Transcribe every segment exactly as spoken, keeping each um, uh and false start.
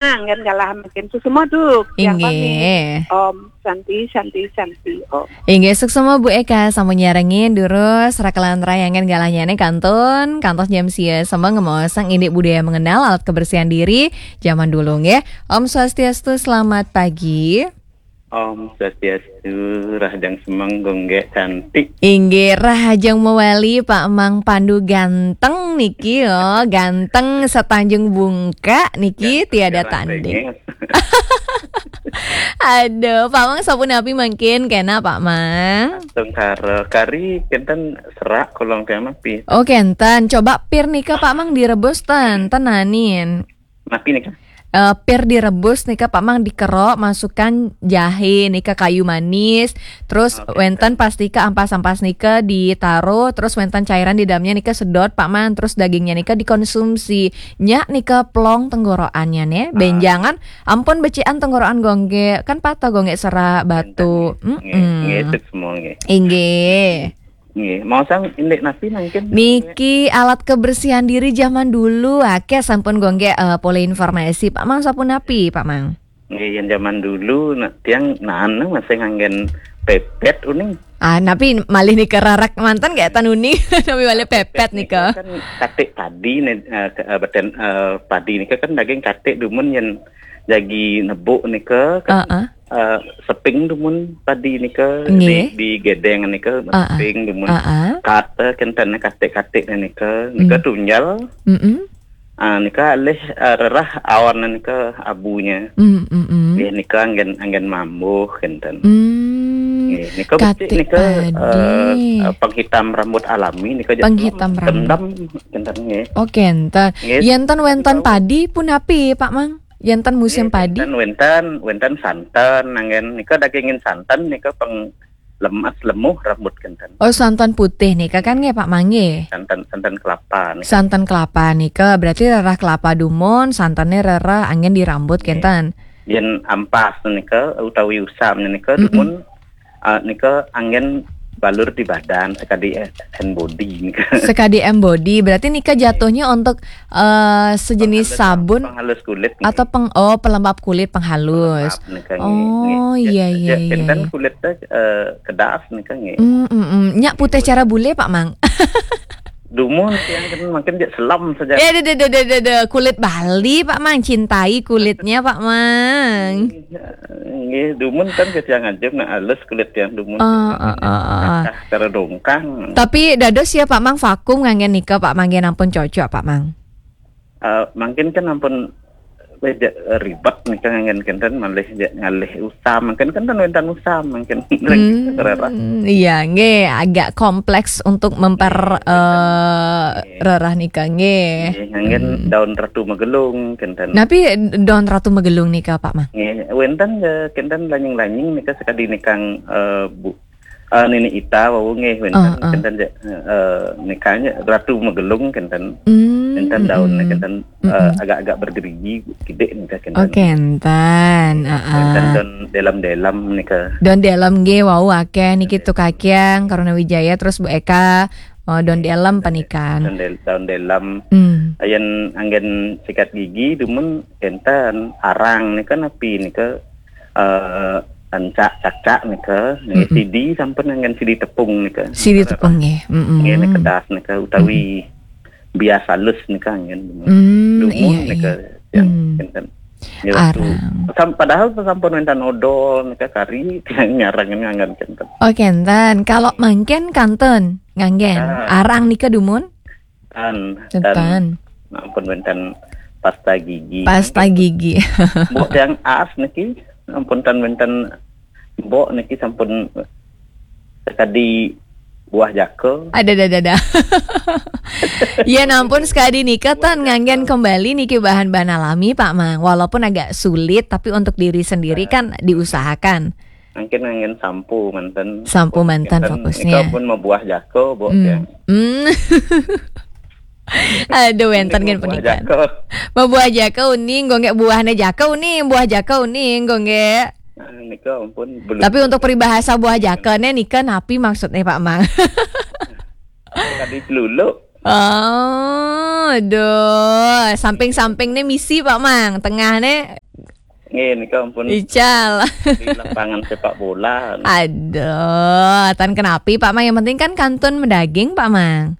Anggen galah mangkin suksma duk. Yang kami, Inggih. Om Santi, Santi, Santi, Om. Inggih, suksma Bu Eka, sampun nyarengin durus, rakelan rayangan galahnyane kantun, kantos jam sia semeng ngemaosang indik budaya mengenal alat kebersihan diri zaman dulu nggih. Om Swastiastu, selamat pagi. Om Swastiastu, rahajeng semeng Gung Gek cantik. Inggih, rahajeng mewali Pak Mang Pandu ganteng niki yo, ganteng setanjung bungka niki Ganteng tiada setanjung tanding. Bengis. Aduh, Pak Mang sapunapi mangkin kena Pak Mang? Tengkara kari kenten serak kolong tiang mapi. Oh, kenten. Coba pir nika Pak Mang direbus ten, tenanin. Napi nika? Eh, pir direbus nika Pak Mang dikerok, masukkan jahe nika kayu manis, terus Oke. Wenten pastika ampas-ampas nika ditaruh, terus wenten cairan di dalamnya nika sedot Pak Mang, terus dagingnya nika dikonsumsi. Nyak nika plong tenggorokannya nih, Ah. Benjangan ampun becikan tenggorokan Gung Gek, kan patah Gung Gek serak batu. Wenten, nggih. Nggih, Mm-mm. Nggih, itu semua nggih. Inggih. Nggih, mau sang indik napi mangkin? Niki alat kebersihan diri zaman dulu, akeh sampun Gung Gek, eh, polih informasi. Pak Mang sapunapi, Pak Mang? Nggih, yang zaman dulu, nak tiang nan masih nganggen pepet uning. Ah, napi malih nika rarak manten gek tan uning, napi malih pepet nika. Kan katik padi nih, eh, ke-, eh, beten, eh, padi nika kan daging katik dumun yang jagi nebuk nika kan, Heeh. eh, seping dumun padi nika Nggih. di, di gedeng nika Heeh. seping dumun Heeh. kata kenten katik-katik nika, nika Mm. tunjal. Mm-mm. Ah, nika alih, eh, rerah awan nika abunya. Mm, mm, mm. Nggih, nika anggen, anggen mambuh kenten. Mm. Nggih, nika becik Katik nika, padi. Eh, eh, penghitam rambut alami nika jatuh Penghitam rambut. Kendam kenten nggih. Oh, kenten. Nggih. Yen ten wenten Tahu. Padi punapi, Pak Mang? Yen ten musim Nggih, padi? Wenten, wenten, wenten santen, anggen nika dagingin santen nika peng lemas lemuh rambut kenten. Oh, santan putih nika kan nggih, Pak Mang nggih? Santan, santan kelapa nika. Santan kelapa nika berarti rerah kelapa dumun, santannya rerah anggen di rambut Nggih. Kenten. Yen ampas nika utawi usam nika Mm-mm. dumun, ah, nika anggen balur di badan sekadi, eh, hand body nika. Sekadi hand body, berarti nika jatuhnya untuk, eh, sejenis Penghalus, sabun penghalus kulit nika. Atau peng-, oh, pelembab kulit, penghalus. Pelembab nika nggih, Oh, nggih. Iya, iya, iya, Kenten iya. Kulit teh, eh, kedas nika nggih. Mm, mm, mm. Nyak putih cara bule, Pak Mang? Dumun tiang kan mungkin dia selam saja. Eh, deh, deh, deh, deh, deh, deh. Kulit Bali, Pak Mang. Cintai kulitnya, Pak Mang. Nggih, dumun kan ke tiang aja nak halus kulit tiang dumun. Oh, oh, oh, oh. Akah cara dongkang. Tapi dados ya, Pak Mang, vakum nganggen nika, Pak Mang, nggih ampun cocok, Pak Mang. Eh, mungkin kan ampun beja-, ribet nika nganggen kenten malih ja-, ngalih usam, mungkin kan wenten usam, mungkin Hmm, rerah. Iya, nggih, agak kompleks untuk memper-, Nggih, eh, nggih. Rerah nika, nggih. Nggih, nganggen Hmm. daun ratu magelung, kenten. Napi daun ratu magelung nika, Pak Mang? Nggih, wenten, eh, kenten lanying-lanying nika sekadi nikang, eh, bu-, eh, nini ita wau nggih, wenten, Ah, ah. Kenten ja-, eh, nikahnya ratu magelung, kenten. Hmm, Kenten daun, mm-mm. Kenten, eh, Mm-mm. Agak-agak bergerigi, kidik nika, kenten. Oh, kenten, ah, ah. Kenten daun delam-delam nika. Daun delam nggih, wau akeh niki Nggih. Tukakyang, Karuna Wijaya, terus Bu Eka, oh, daun Nggih. Delam panikan. Daun del-, daun delam. Hmm. Ayen anggen sikat gigi, dumun kenten arang nika napi nika, eh, ancak cakcak nika, nika Mm-mm. Sidi sampun anggen sidi tepung nika. Sidi tepung nggih. Mm-mm. Nggih, nika das nika utawi Mm-mm. Bias halus nika anggen. Hmm, dumun iya, nika iya. Yang Hmm. Kenten. Ya, waktu Arang. Sam-, padahal sampun wenten odol nika kari nyarang nganggen kenten. Oh, kenten. Kalau mangkin kantun nganggen. Ah. Arang nika dumun? Tan, Tan. Tan. Ampun wenten pasta gigi. Pasta gigi. Mbok yang as niki, ampun tan wenten mbok niki sampun sekadi buah jaka. Ada, ada, ada, ada. Ya, nampun sekadi nika tan nganggen kembali niki bahan-bahan alami, Pak Mang. Walaupun agak sulit, tapi untuk diri sendiri kan diusahakan. Mungkin angin sampo manten. Sampo manten fokusnya. Nika pun mabuah jaka, Mbok, hmm, ya. Hmm. Aduh, wenten kan mabuah pernikahan. Jaka. Mabuah jaka uning, nggo nggih buahnya jaka uning, buah jaka uning, nggo nggih. Nah, nika ampun, belum. Tapi untuk peribahasa buah jaka nih, nika napi maksudnya, Pak Mang? Tadi pelulu. Oh, aduh, samping-samping nih misi Pak Mang, tengah nih. Nggih, nika ampun. Ical. Di lapangan sepak bola. Aduh, tan kenapi Pak Mang, yang penting kan kantun medaging Pak Mang.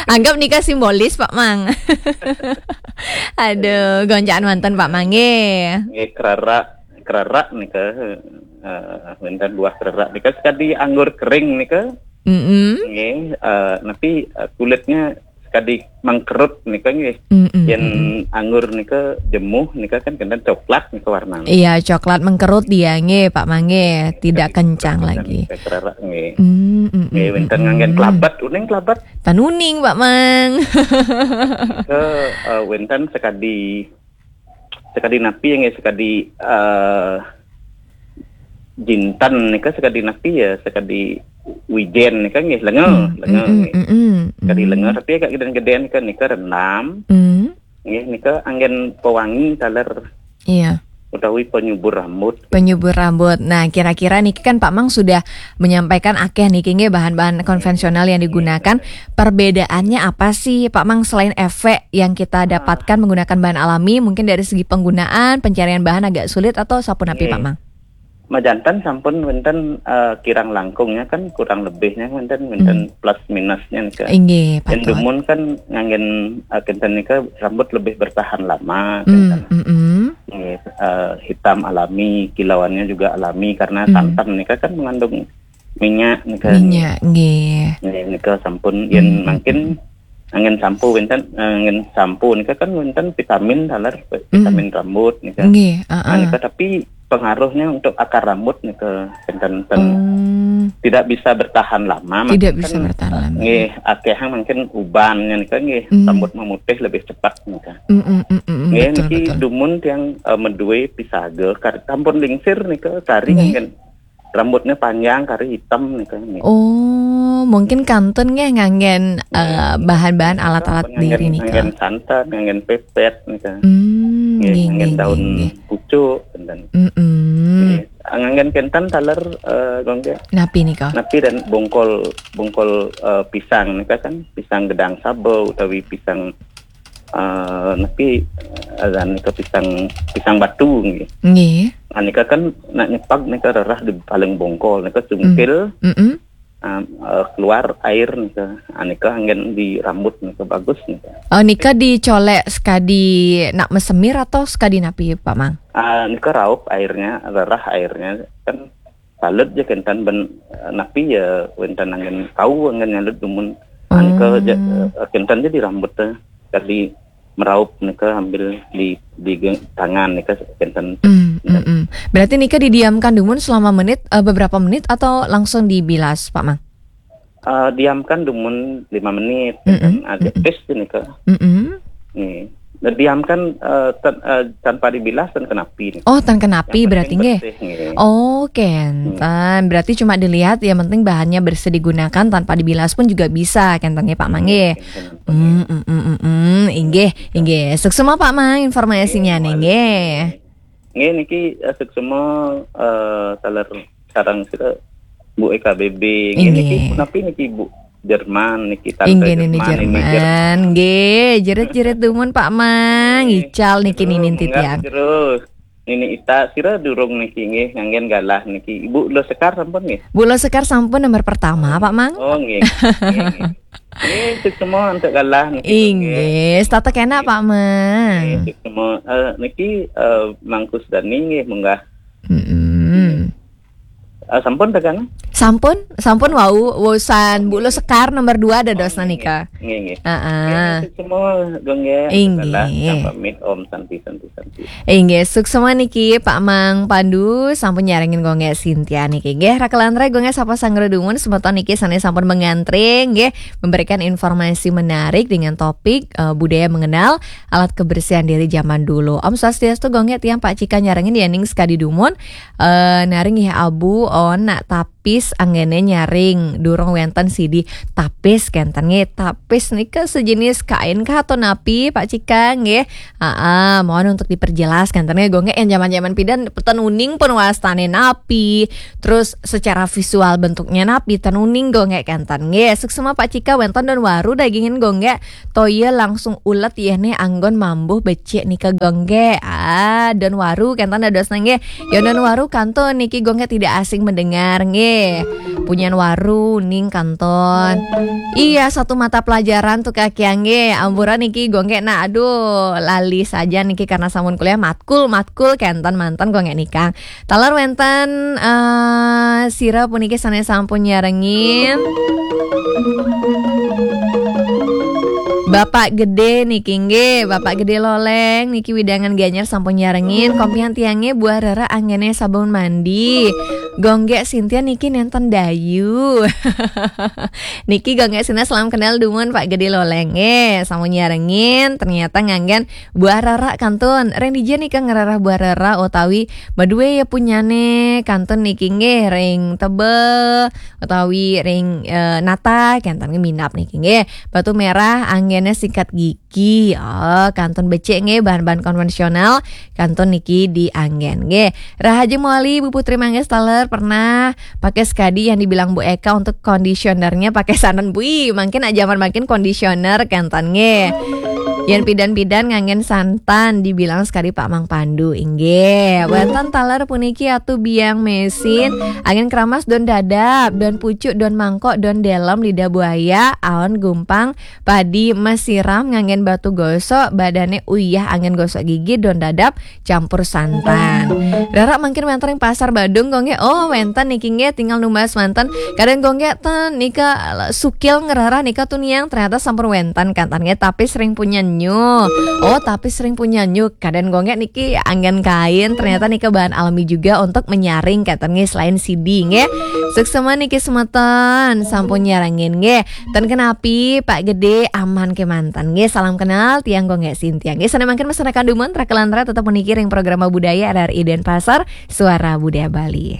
Anggap nika simbolis Pak Mang. Aduh, goncaan manten Pak Mang nggih. Nggih, kererak, kererak nika, eh, wenten buah kererak nika sekadi anggur kering nika. Mm-mm. Nggih, eh, napi, eh, kulitnya sekadi mengkerut nika nggih. Mm-mm, Yen mm-mm. Anggur nika jemuh nika kan kenten coklat nika warnanya. Iya, coklat mengkerut dia nggih, Pak Mang nggih. Tidak kencang lagi. Kererak nggih. Mm, mm, mm, Nggih, wenten mm, nganggen mm. Kelabat, uning kelabat. Tanuning, Pak Mang. Ke, eh, wenten sekadi, sekadi napi nggih, sekadi, eh, jinten nika sekadi napi ya, sekadi wijen nika nggih, lenga, Hmm, lenga mm, mm, nggih. Mm, mm, Sekadi mm. Lenga, tapi agak geden-geden nika, nika rendam. Hmm. Nggih, nika anggen pewangi taler. Iya. Utawi penyubur rambut. Penyubur rambut. Nah, kira-kira niki kan Pak Mang sudah menyampaikan akeh niki nggih bahan-bahan konvensional yang digunakan. Perbedaannya apa sih Pak Mang selain efek yang kita dapatkan menggunakan bahan alami, mungkin dari segi penggunaan, pencarian bahan agak sulit atau sapunapi Nggih. Pak Mang? Majanten sampun wenten, eh, kirang langkungnya kan kurang lebihnya wenten, wenten Hmm. Plus minusnya nika. Inggih, Yen patut. Dumun kan nganggen, eh, kenten nika rambut lebih bertahan lama, Hmm, kenten. Mm-mm. Nggih, eh, hitam alami, kilauannya juga alami karena Hmm. Santan nika kan mengandung minyak nika. Minyak, nggih. Nggih, nika sampun yen Hmm, mungkin mm-mm. Angin sampo wenten, angin sampo nika kan wenten vitamin taler, Mm. Vitamin rambut nika. Nggih, Nah, heeh. Nika tapi pengaruhnya untuk akar rambut nika wenten, wenten Oh. Tidak bisa bertahan lama, Tidak maksudnya bisa kan, bertahan lama. Nggih, akehang mungkin ubannya nika nggih, Mm. Rambut memutih lebih cepat nika. Mm, mm, mm, mm, mm, Nggih, betul, niki betul. Dumun tiang, eh, medue pisaga, kar-, sampun lingsir nika kari Nggih. Angin rambutnya panjang, kari hitam nika nggih. Oh, mungkin kantun nggih nganggen, Nggih. Eh, bahan-bahan alat-alat Nganggen, diri nika. Nganggen santan, nganggen pepet nika. Hmm, Nggih, nggih, nganggen nggih, daun nggih. Pucuk, kenten. Mm-mm. Nggih. Nganggen kenten taler, eh, Gong nggih. Napi nika? Napi dan bongkol, bongkol, eh, pisang nika kan, pisang gedang saba utawi pisang, eh, napi, eh, nika pisang, pisang batu nggih. Nggih. Nah, nika kan nak nyepag nika rerah di paling bongkol nika cungkil. Mm. Mm-mm. Ah, eh, keluar air nika. Ah, nika anggen di rambut nika bagus nika. Oh, nika dicolek sekadi nak mesemir atau sekadi napi, Pak Mang? Ah, nika raup airnya, rerah airnya. Kan salut je kenten ben, eh, napi ya wenten anggen kau anggen nyalut dumun. Ah, nika je, Oh. Eh, kenten je di rambut teh. Sekadi meraup nika ambil di, di geng-, tangan nika kenten. Hmm, hmm, hmm. Berarti nika didiamkan dumun selama menit, eh, beberapa menit atau langsung dibilas, Pak Mang? Eh, diamkan dumun lima menit, Mm-mm, kenten. Ada mm-mm. Tes nika. Mm-mm. Nih. Nah, diamkan, eh, tan-, eh, tanpa dibilas tan kenapi nih. Oh, tan kenapi Yang penting berarti nggih. Bersih, nggih. Oh, kenten. Hmm. Berarti cuma dilihat, yang penting bahannya bersih digunakan, tanpa dibilas pun juga bisa, kenten nggih, Pak Mang nggih. Nggih, kenten. Hmm, mm, mm, mm, mm. Inggih, inggih. Suksma Pak Mang informasinya Nggih, nih, nggih. Nggih, niki, eh, suksma, eh, taler sareng sira Bu E K B B. Nggih, niki Inggih. Punapi niki Bu Jerman niki, Tante Inggih, Nini Jerman, Nini Jerman. Jerman. Nggih, jerit-jerit dumun Pak Mang, Nggih. Ical niki Terus, Nini munggah Titiang. Terus. Nini Ita, sira durung niki nggih, nganggen galah niki. Ibu Lo Sekar sampun nggih? Bu Lo Sekar sampun nomor pertama, Oh. Pak Mang. Oh, nggih. Nggih, nggih. Nggih, suksma untuk galah niki, Inggih, nggih. Setata kena, Nggih. Pak Mang. Nggih, suksma. Eh, niki, eh, Mang Kusdani nggih, munggah. Mm-mm. Eh, sampun tekan? Sampun, sampun wau, wusan Bu Lo Sekar nomor dua ada Oh, dosna nggih, nika. Nggih, nggih. Heeh. Nggih, suksma, Gong, nggih. Inggih. Salah, kang pamit, Om Santi, Santi, Santi. Inggih, suksma niki Pak Mang Pandu sampun nyarengin Gong Sintia niki. Nggih, rakelan rai Gong sapa sanggra dumun semeton niki sanes sampun mengantre nggih, memberikan informasi menarik dengan topik, eh, budaya mengenal alat kebersihan diri zaman dulu. Om Swastiastu Gong tiang Pak Cika nyarengin ya ning sekadi dumun, eh, naring nggih abu on nak tapi Tapis anggene nyaring, durung wenten sidi. Tapis kenten nggih, tapis nika sejenis kain kah atau napi, Pak Cika nggih? Aa, mohon untuk diperjelas kenten nggih, Gonggek, yang zaman-zaman pidan ten uning pun wastane napi. Terus secara visual bentuknya napi ten uning, Gonggek, kenten nggih. Suksema Pak Cika, wenten don waru dagingin, Gonggek. Toya langsung ulet yeh ne anggon mambuh becik nika, Gonggek. Ah, don waru kenten dados nggih. Yo, don waru kantun niki, Gonggek, tidak asing mendengar nggih. Punyan waru ning kantun. Iya, satu mata pelajaran tuh kaki angge. Ampuran niki, Gonggek, nah, aduh, lali saja niki karena sampun kuliah matkul, matkul kenten manten, Gonggek, nikang. Taler wenten eh, sira puniki sane sampun nyarengin. Bapak Gede niki nggih, Bapak Gede Loleng niki widangan Gianyar sampun nyarengin. Kompian tiange buah rara anggene sabun mandi. Gonggek Sintia niki nenten dayu. Niki Gonggek Sintia, salam kenal dumun Pak Gede Loleng. Eh, sampun nyarengin, ternyata nganggen buah rara kantun. Ring dija nika ngerarah buah rara utawi madue ya punyane kantun niki nggih, ring Tebe utawi ring eh, Nata kenten nggih, minap niki nggih. Batu Merah anggene sikat gigi. Oh, kantun becik nggih, bahan-bahan konvensional kantun niki dianggen nggih. Rahaji Moli, Bu Putri Mangga, taler pernah pakai sekadi yang dibilang Bu Eka untuk conditionernya pakai santan. Bui, makin aja makin conditioner kenten nggih. Yang pidan-pidan nganggen santan dibilang sekadi Pak Mang Pandu, inggih. Wenten taler puniki Atu Biang Mesin, anggen keramas don dadap, don pucuk, don mangkok, don delem, lidah buaya, aon gumpang, padi mesiram nganggen batu gosok, badane uyah anggen gosok gigi, don dadap, campur santan. Rara mungkin wenten ring Pasar Badung, Gonggek. Oh, wenten niki nggih, tinggal numbas manten. Kadang, Gonggek, ten nika sukil ngerarah nika tuniang, ternyata sampun wenten kenten nggih, tapi sering punya nyu. Oh, tapi sering punya nyu. Kadang, Gonggek, niki anggen kain, ternyata nika bahan alami juga untuk menyaring kenten nggih, selain sidi nggih. Suksema niki semeton sampun nyarengin nggih. Ten kenapi, Pak Gede, aman kemanten nggih. Salam kenal tiang, Gonggek Sintia nggih. Sane mangkin mesanakan dumun, rakelan ra tetep puniki ring programa budaya R R I Denpasar, Suara Budaya Bali.